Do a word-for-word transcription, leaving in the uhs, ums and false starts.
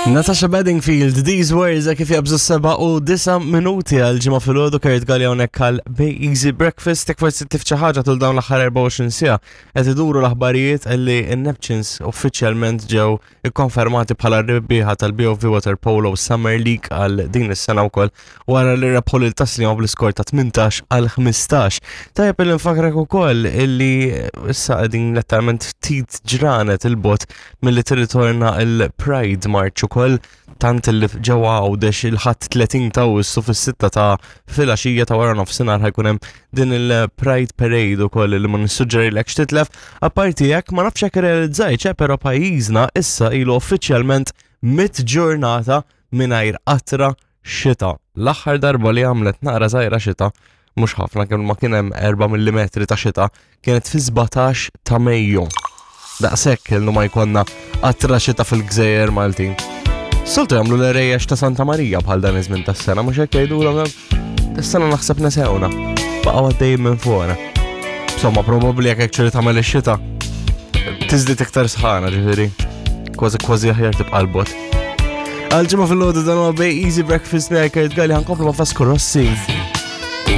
Natasha Bedingfield, These Words, kif jabżu seba u disa minuti għal ġimgħa filgħodu Kurt Galli hawnhekk għal Bay Easy Breakfast, jekk forsi tifċa ħaġa tul dawn l-aħħar erbgħa u għoxrin siegħa qed iduru l-aħbarijiet li n-Neptunes uffiċjalment ġew ikkonfermati bħala r-rebbieħa tal-B O V Water Polo Summer League għal din is-sena wkoll wara li rebħu lil Tas-Sliema bl-iskor ta' tmintax għal ħmistax. Tajjeb li nfakrek ukoll illi issa qegħdin letteralment ftit ġranet il-bogħod milli tirritorna il-Pride March ukoll, tant li ġewwa Għawdex il-Ħadd tletin ta' Awwissu fis-sitta ta' filgħaxija ta' wara nofsinhar ħajkun hemm din il-Pride Parade ukoll li ma nissuġġerilekx titlef. Apparti jekk ma nafx jekk realizzajtx, eh, però pajjiżna issa ilu uffiċjalment mitt ġurnata mingħajr qatra xita. L-aħħar darba li għamlet naqra żgħira xita, mhux ħafna, kemm ma kien hemm erba' millimetri ta' xita, kienet fi sbatax ta' Mejju. Daqshekk ilnu ma jkollna qatra xita fil-gżejjer Maltin. Soltu jagħmlu l-għerejjex ta' Santa Marija bħal dan iż-żmien tas-sena, mhux hekk jgħidulhom? Is-sena naħseb nesewna. Baqgħu għaddejjin minn fuqna. Insomma, probabbli jekk hekk ċeri tagħmel ix-xita, tiżdied iktar sħana, ġifieri. Kważi kważi aħjar tibqa' l-bogħod. Għal Ġimgħa filgħodu dan huwa Bay Easy Breakfast miegħi Kurt Galli, ħankomplu ma' Vasco Rossi.